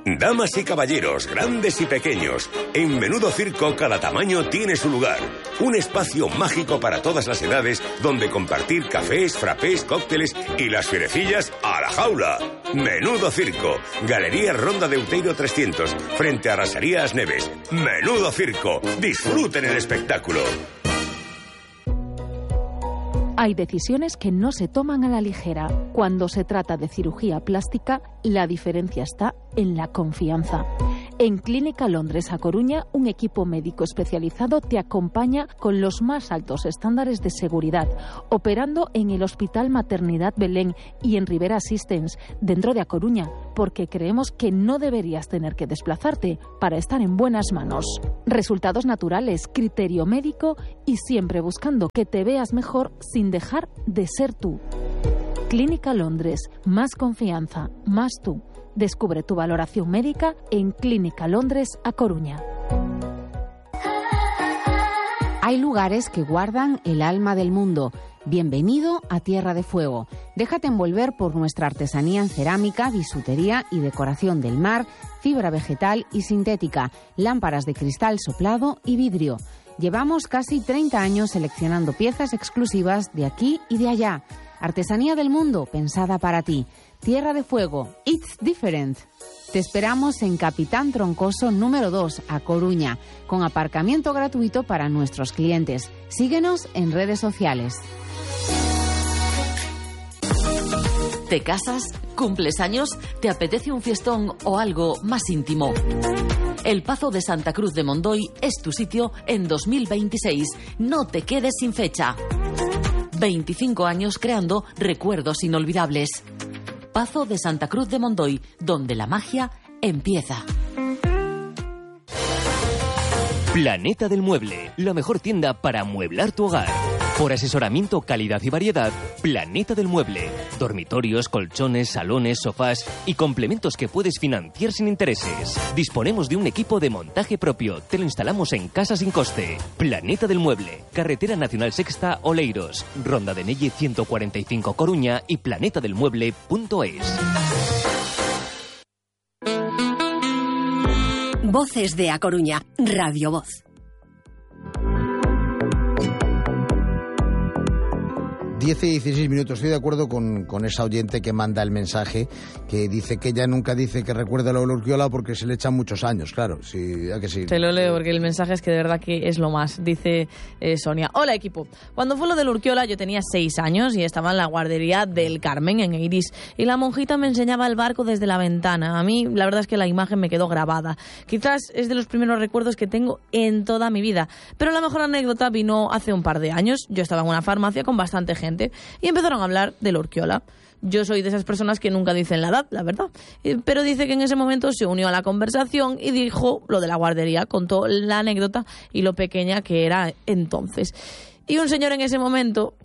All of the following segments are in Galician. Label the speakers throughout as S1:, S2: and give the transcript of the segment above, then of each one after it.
S1: Damas y caballeros, grandes y pequeños, en Menudo Circo cada tamaño tiene su lugar. Un espacio mágico para todas las edades donde compartir cafés, frappés, cócteles y las fierecillas a la jaula. Menudo Circo, Galería Ronda de Outeiro 300, frente a Rasaría As Neves. Menudo Circo, disfruten el espectáculo.
S2: Hay decisiones que no se toman a la ligera. Cuando se trata de cirugía plástica, la diferencia está en la confianza. En Clínica Londres A Coruña, un equipo médico especializado te acompaña con los más altos estándares de seguridad, operando en el Hospital Maternidad Belén y en Rivera Assistance, dentro de A Coruña, porque creemos que no deberías tener que desplazarte para estar en buenas manos. Resultados naturales, criterio médico y siempre buscando que te veas mejor sin dejar de ser tú. Clínica Londres, más confianza, más tú. Descubre tu valoración médica en Clínica Londres A Coruña.
S3: Hay lugares que guardan el alma del mundo. Bienvenido a Tierra de Fuego. Déjate envolver por nuestra artesanía en cerámica, bisutería y decoración del mar, fibra vegetal y sintética, lámparas de cristal soplado y vidrio. Llevamos casi 30 años seleccionando piezas exclusivas de aquí y de allá. Artesanía del mundo pensada para ti. Tierra de Fuego, it's different. Te esperamos en Capitán Troncoso número 2, A Coruña, con aparcamiento gratuito para nuestros clientes. Síguenos en redes sociales.
S4: ¿Te casas? ¿Cumples años? ¿Te apetece un fiestón o algo más íntimo? El Pazo de Santa Cruz de Mondoy es tu sitio en 2026. No te quedes sin fecha. 25 años creando recuerdos inolvidables. Pazo de Santa Cruz de Mondoy, donde la magia empieza.
S5: Planeta del Mueble, la mejor tienda para amueblar tu hogar. Por asesoramiento, calidad y variedad, Planeta del Mueble. Dormitorios, colchones, salones, sofás y complementos que puedes financiar sin intereses. Disponemos de un equipo de montaje propio. Te lo instalamos en casa sin coste. Planeta del Mueble. Carretera Nacional Sexta, Oleiros. Ronda de Nelle 145 Coruña y planetadelmueble.es.
S6: Voces de A Coruña, Radio Voz.
S7: 10 y 16 minutos. Estoy de acuerdo con esa oyente que manda el mensaje, que dice que ella nunca dice que recuerda lo de Urquiola porque se le echan muchos años, claro. Sí, ya que sí.
S8: Te lo leo porque el mensaje es que de verdad que es lo más. Dice Sonia: hola equipo, cuando fue lo del Urquiola yo tenía 6 años y estaba en la guardería del Carmen en Eirís y la monjita me enseñaba el barco desde la ventana. A mí la verdad es que la imagen me quedó grabada. Quizás es de los primeros recuerdos que tengo en toda mi vida, pero la mejor anécdota vino hace un par de años. Yo estaba en una farmacia con bastante gente y empezaron a hablar del Urquiola. Yo soy de esas personas que nunca dicen la edad, la verdad. Pero dice que en ese momento se unió a la conversación y dijo lo de la guardería, contó la anécdota y lo pequeña que era entonces. Y un señor en ese momento,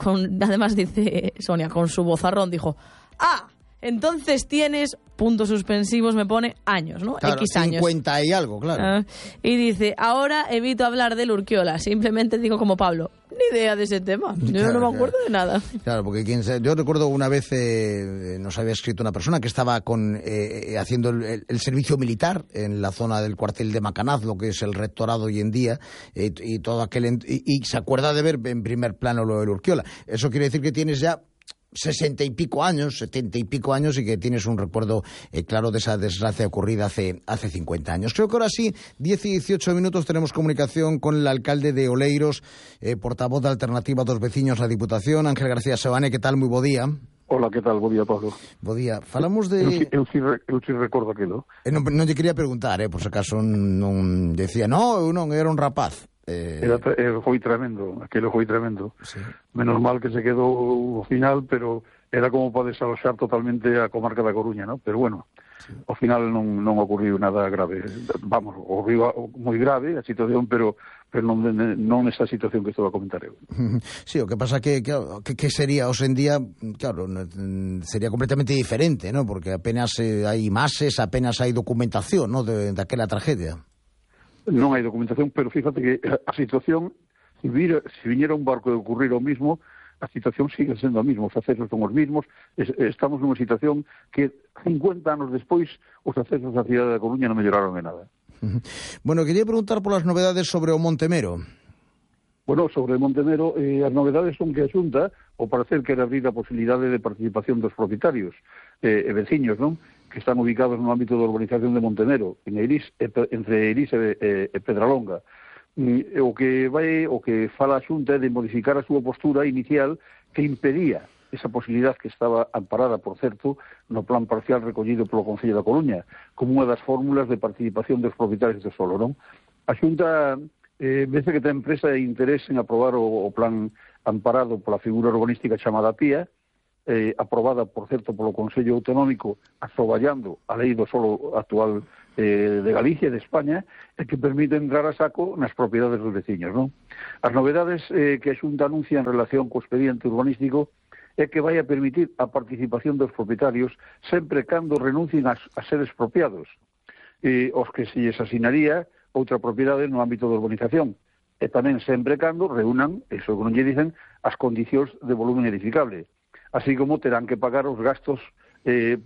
S8: además dice Sonia, con su vozarrón, dijo: ¡ah! Entonces tienes, puntos suspensivos me pone, años, ¿no?
S7: Claro,
S8: X años.
S7: 50 y algo, claro.
S8: Y dice: ahora evito hablar del Urquiola, simplemente digo como Pablo, ni idea de ese tema. Yo
S7: claro,
S8: no me acuerdo de nada.
S7: Claro, porque yo recuerdo una vez nos había escrito una persona que estaba haciendo el servicio militar en la zona del cuartel de Macanaz, lo que es el rectorado hoy en día, y todo aquel y se acuerda de ver en primer plano lo del Urquiola. Eso quiere decir que tienes ya 60 y pico años, 70 y pico años, y que tienes un recuerdo claro de esa desgracia ocurrida hace 50 años. Creo que ahora sí, 10 y 18 minutos, tenemos comunicación con el alcalde de Oleiros, portavoz de Alternativa dos Veciños, la Diputación, Ángel García Sebane. Que tal? Moi bo día.
S9: Hola, que tal? Bo día, Pablo.
S7: Bo día. Falamos de...
S9: Eu si recordo aquilo.
S7: Non lle quería preguntar, por se acaso non decía, eu non, era un rapaz.
S9: Foi tremendo, aquilo foi tremendo.
S7: Sí.
S9: Menos mal que se quedou ao final, pero era como para desaloxar totalmente a comarca da Coruña, ¿no? Pero bueno, sí. Ao final non ocurriu nada grave. Vamos, ocurriu moi grave a situación, pero non nesa situación que estou a comentar eu.
S7: Sí, o que pasa que sería hoxe en día, claro, sería completamente diferente, ¿no? Porque apenas hai imaxes, apenas hai documentación, ¿no? Daquela tragedia.
S9: Non hai documentación, pero fíjate que a situación, se viñera un barco de ocurrir o mismo, a situación sigue sendo a mesma, os accesos son os mesmos, estamos nunha situación que 50 anos despois os accesos á cidade da Coruña non melloraron en nada.
S7: Bueno, quería preguntar polas novedades sobre o Montemero.
S9: Bueno, sobre Montemero, as novedades son que a Xunta, ao parecer, quere abrir a posibilidade de participación dos propietarios e veciños, non?, que están ubicados no ámbito da urbanización de Montemero, en Eirís, entre Eirís e Pedralonga. O que fala a Xunta é de modificar a súa postura inicial que impedía esa posibilidad que estaba amparada, por certo, no plan parcial recollido polo Concello da Coruña, como unha das fórmulas de participación dos propietarios do solo, non? A Xunta vece que ten empresa e interés en aprobar o plan amparado pola figura urbanística chamada PIA, aprobada, por certo, polo Consello Autonómico, asoballando a lei do solo actual de Galicia e de España, e que permite entrar a saco nas propiedades dos veciños, non? As novedades que a Xunta anuncia en relación co expediente urbanístico é que vai a permitir a participación dos propietarios sempre cando renuncien a ser expropiados, os que se lles asinaría outra propiedade no ámbito da urbanización, e tamén sempre cando reúnan, eso que non lle dicen, as condicións de volumen edificable, así como terán que pagar os gastos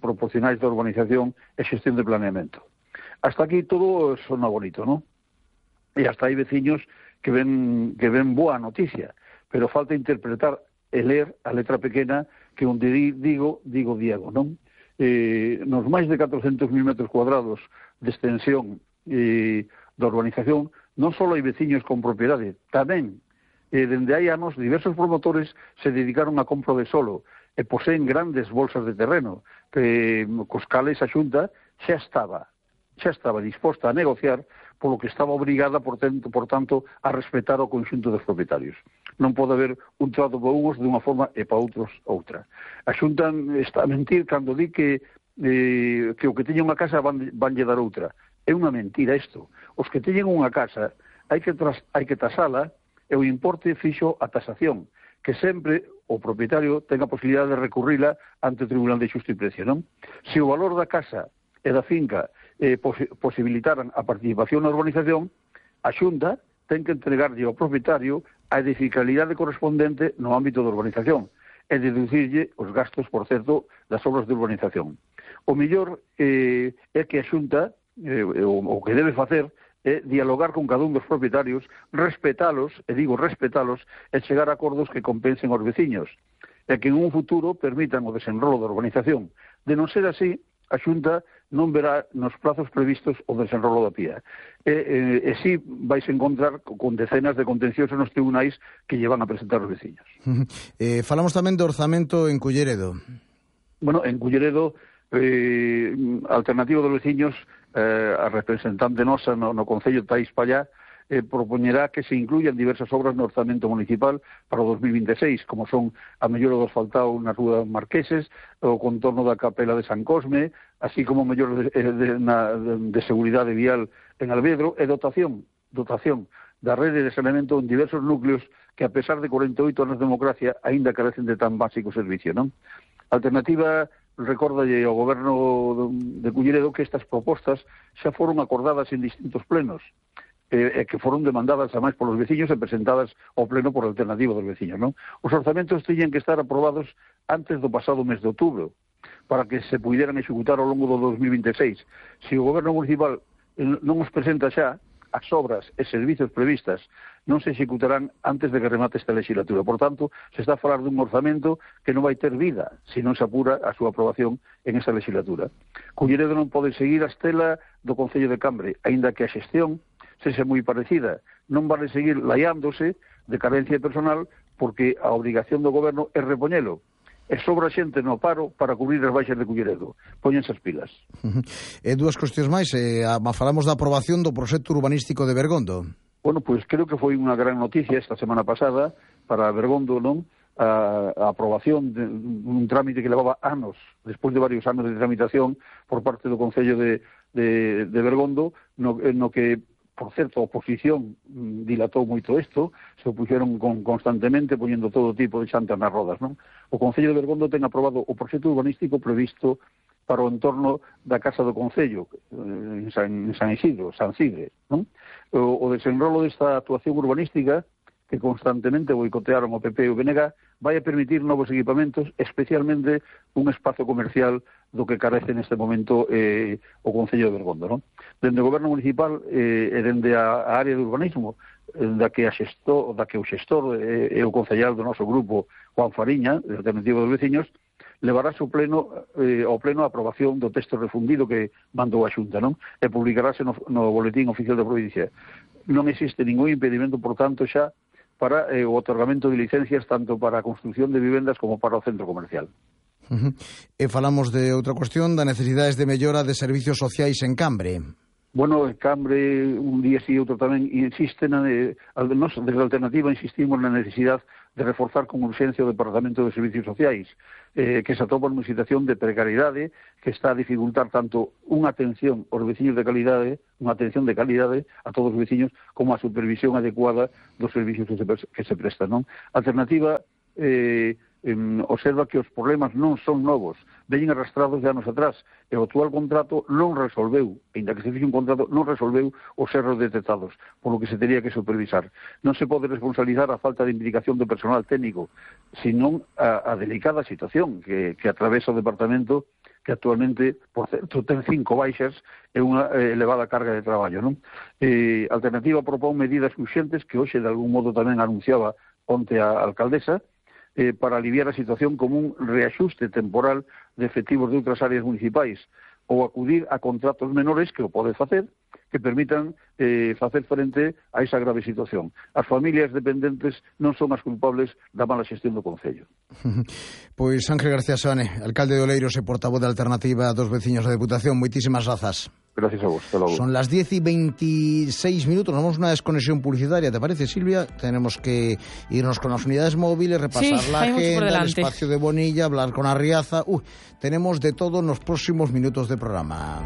S9: proporcionais da urbanización e xestión de planeamento. Hasta aquí todo sona bonito, ¿no? E hasta hai veciños que ven boa noticia, pero falta interpretar e ler a letra pequena que onde digo Diego, non? Nos máis de 400.000 metros cuadrados de extensión da urbanización non só hai veciños con propiedade, tamén dende hai anos diversos promotores se dedicaron a compra de solo e poseen grandes bolsas de terreno que cos cales a Xunta xa estaba disposta a negociar polo que estaba obrigada, por tanto, a respetar o conxunto dos propietarios. Non pode haber un trato para uns dunha forma e para outros outra. A Xunta está a mentir cando di que o que teña unha casa vanlle dar outra. É unha mentira isto. Os que teñen unha casa hai que tasala e o importe fixo a tasación, que sempre o propietario ten a posibilidade de recurrila ante o Tribunal de Xusticia e Precio, non? Se o valor da casa e da finca posibilitaran a participación na urbanización, a Xunta ten que entregarlle ao propietario a edificabilidade correspondente no ámbito da urbanización e deducirlle os gastos, por certo, das obras de urbanización. O mellor é que a Xunta, o que debe facer, é dialogar con cada un dos propietarios, respetalos, e chegar a acordos que compensen aos veciños, e que en un futuro permitan o desenrolo da urbanización. De non ser así, a Xunta non verá nos plazos previstos o desenrolo da PIA. E si vais encontrar con decenas de contenciosos nos tribunais que lle van a presentar os veciños.
S7: Falamos tamén do orzamento en Culleredo.
S9: Bueno, en Culleredo, Alternativa dos Veciños, a representante nosa no Concello de Taís Pallá, propoñerá que se incluyan diversas obras no orzamento municipal para o 2026, como son a mellora do asfaltado na Rúa Marqueses, o contorno da Capela de San Cosme, así como mellora de seguridade vial en Alvedro, e dotación da rede de saneamento en diversos núcleos que, a pesar de 48 anos de democracia, aínda carecen de tan básico servicio, non? Alternativa recórdalle ao goberno de Culleredo que estas propostas xa foron acordadas en distintos plenos, que foron demandadas ademais polos veciños e presentadas ao pleno por Alternativa dos Veciños, non? Os orzamentos teñen que estar aprobados antes do pasado mes de outubro para que se puideran executar ao longo do 2026. Se o goberno municipal non os presenta xa, as obras e servizos previstas non se executarán antes de que remate esta legislatura. Por tanto, se está a falar dun orzamento que non vai ter vida se non se apura a súa aprobación en esta legislatura. Culleredo non pode seguir a estela do Concello de Cambre, aínda que a xestión sexa moi parecida. Non vale seguir laiándose de carencia de personal porque a obrigación do goberno é repoñelo. E sobra xente no paro para cubrir as baixas de Culleredo. Póñense as pilas.
S7: Dúas cuestións máis. Falamos da aprobación do proxecto urbanístico de Bergondo.
S9: Bueno, pois creo que foi unha gran noticia esta semana pasada para Bergondo, non? A aprobación de un trámite que levaba anos, despois de varios anos de tramitación por parte do Concello de Bergondo, no que, por certo, a oposición dilatou moito isto, se opuxeron constantemente poñendo todo tipo de xantas nas rodas, non? O Concello de Bergondo ten aprobado o proxecto urbanístico previsto para o entorno da Casa do Concello, en San Isidro, San Cidre, non? O desenrolo desta actuación urbanística que constantemente boicotearon o PP e o BNG, vai a permitir novos equipamentos, especialmente un espazo comercial do que carece neste momento o Concello de Bergondo, non? Dende o Goberno Municipal e dende a área de urbanismo, da que o xestor e o concellar do noso grupo, Juan Fariña, de Alternativa dos Veciños, levará ao pleno a aprobación do texto refundido que mandou a Xunta, non? E publicarase no boletín oficial da provincia. Non existe ningún impedimento, por tanto, xa para o otorgamento de licencias tanto para a construción de vivendas como para o centro comercial.
S7: E falamos de outra cuestión, da necesidades de mellora de servicios sociais en Cambre.
S9: Bueno, en Cambre, un día sí e outro tamén insiste, desde a Alternativa insistimos na necesidade de reforzar con urxencia o Departamento de Servicios Sociais, que se atopa nunha situación de precariedade que está a dificultar tanto unha atención aos veciños de calidade, unha atención de calidade a todos os veciños, como a supervisión adecuada dos servicios que se prestan, non? A Alternativa observa que os problemas non son novos, veñen arrastrados de anos atrás, e o actual contrato non resolveu, ainda que se fixe un contrato, non resolveu os erros detectados, por lo que se teria que supervisar. Non se pode responsabilizar a falta de implicación do personal técnico, senón a delicada situación que atravesa o departamento, que actualmente, por certo, ten 5 baixas e unha elevada carga de traballo, non? Alternativa propón medidas urxentes que hoxe de algún modo tamén anunciaba onte a alcaldesa, para aliviar a situación como un reaxuste temporal de efectivos de outras áreas municipais ou acudir a contratos menores que o pode facer, que permitan facer frente a esa grave situación. As familias dependentes non son as culpables da mala xestión do Concello.
S7: Pois Ángel García Seoane, alcalde de Oleiros e portavoz da Alternativa dos Veciños da Deputación, moitísimas grazas.
S9: Gracias a vos, hasta logo.
S7: Son las 10:26, nos vamos a una desconexión publicitaria, ¿te parece, Silvia? Tenemos que irnos con las unidades móviles, repasar la agenda, el espacio de Bonilla, hablar con Arriaza. Tenemos de todo en los próximos minutos de programa.